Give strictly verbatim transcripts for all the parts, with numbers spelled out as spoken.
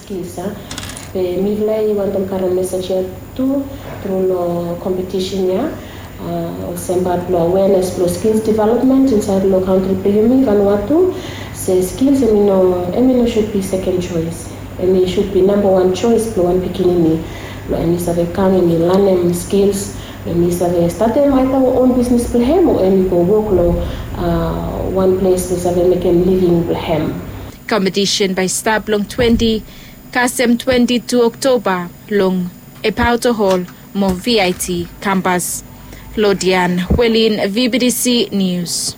Isa, be mifala i wantem karem mesej ya tu tru long kompetisen ya, olsem bat long awenes blong skils development insaed long kantri blong yumi Vanuatu. Se skils em i no em i no sud bi seken soes, em i sud bi namba wan soes blong wan pikinini blong em i save kam em i lanem skils, em i save statem aita on bisnis blong hem o em i go wok long wan ples blong save mekem living blong hem. Kompetisen bae i stap long twenti kasem twenti tu Oktoba long Epauto Hall mo V I T kampas. Lodian Welin, V B T C News.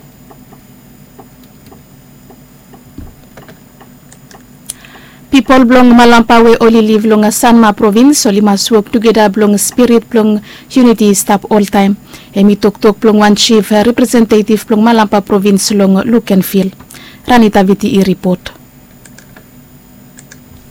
Pipol blong Malampa we oli liv long Sanma provins oli mas wok tugeta blong spirit blong yuniti i stap oltaem. Hem i toktok blong wan jif representetiv blong Malampa provins long Lukenvil. Ranita Viti i ripot.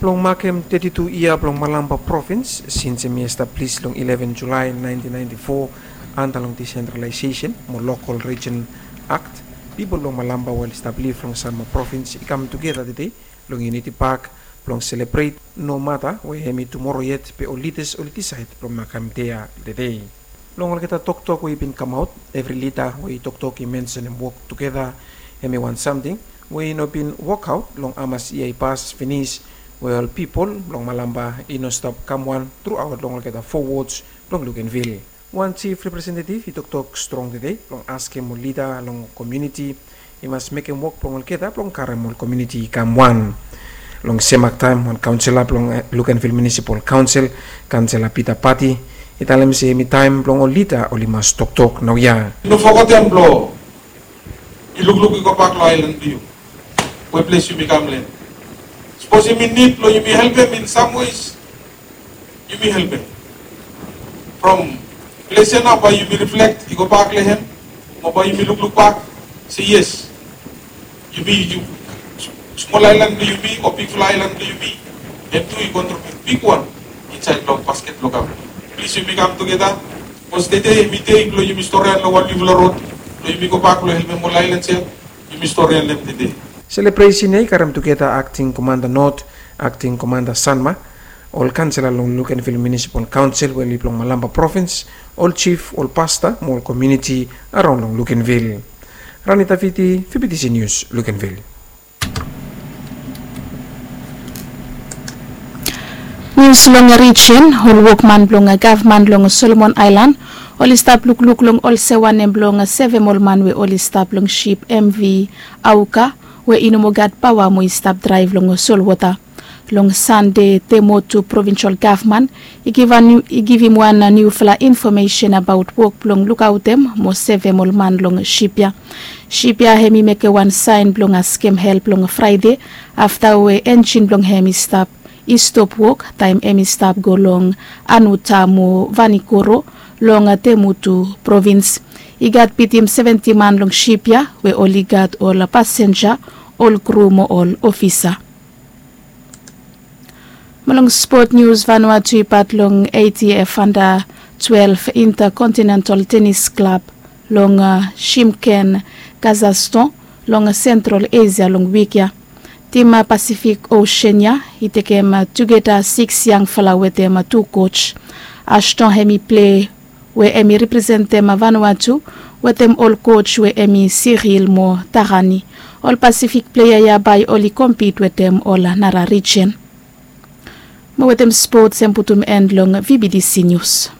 Blong makem teti tu yia blong Malampa provins sins hem i establis long ileven Julae naentin naenti fo anta long disentralaesesen mo lokol rijen akt, pipol blong Malampa we oli stap liv long Sanma provins i kam tugeta tede long Yuniti Pak blong selebret, nomata we hem i tumoro yet be ol lidas oli disaed blong makem dei ya tede. Long olgeta toktok we i bin kamaot, evri lida we i toktok i mensenem wok tugeta hem i wan samting we i no bin wokaot long hamas yia i pas finis, we ol pipol blong Malampa i no stap kam wan truaot long olgeta fo wods blong Lukenvil. Wan jif representetiv i toktok strong tede blong askem ol lida long komuniti i mas mekem wok blong olgeta blong karem ol komuniti i kam wan. Long sem aktaem wan kaonsela blong Lukenvil Munisipal Kaonsel, kaonsela Pita Pati, i talem se hem i taem blong ol lida oli mas toktok naoia. No fogetem blong i lukluk i gobak long aelan blong yu we ples yumi kam long hem. Sapos yumi nid blong yumi helpem in sam wes, yumi helpem. From ples ya nao bae yumi riflek i gobak long hem mo bae yumi lukluk bak se yes, yumi, smol aelan blong yumi o bigfala aelan blong yumi, hem tu i kontribiut bigwan insaed long basket blong gavman. Plis yumi kam tugeta. Bikos tede hem i dei blong yumi storian long wan niufala rod blong yumi gobak blong helpem ol aelans ya. Yumi storian long hem tede. Selebresen ya i karem tugeta akting komanda not, akting komanda Sanma, ol kaonsela long Lukenvil Munisipal Kaonsel we oli blong Malampa provins, ol jif, ol pasta mo ol komuniti araon long Lukenvil. Ranita Viti, V B T C Nius, Lukenvil. Nius long rijen, ol wokman blong gavman long Solomon Aelan oli stap lukluk long ol sewanem blong sevem ol man we oli stap long sip M V Auka we i no moa gat paoa mo i stap draev long solwota. Long Sande, Temotu provinsol gavman i givim wan niufala infomesen abaot wok blong lukaotem mo sevem ol man long sip ya. Sip ya hem i mekem wan saen blong askem help long Fraede afta we enjin blong hem i stap i stop wok taem hem i stap go long Anuta mo Vanikoro long Temotu provins. I gat bitim seventi man long sip ya we oli gat ol pasenja, ol kru mo ol ofisa. Mo long spot nius, Vanuatu i pat long A T F anda twelef Intercontinental Tenis Klab long Shymkent, Kazakhstan long Sentral Esia long wik ya. Tim Pasifik Osen ya i tekem tugeta siks yangfala wetem tu koj. Ashton hem i plei we hem i representem Vanuatu wetem ol koj we hem i Siril mo Tarani. Ol Pasifik plea ya bae oli kompit wetem ol nara rijen. Mo wetem spots hem putum en long V B T C Nius.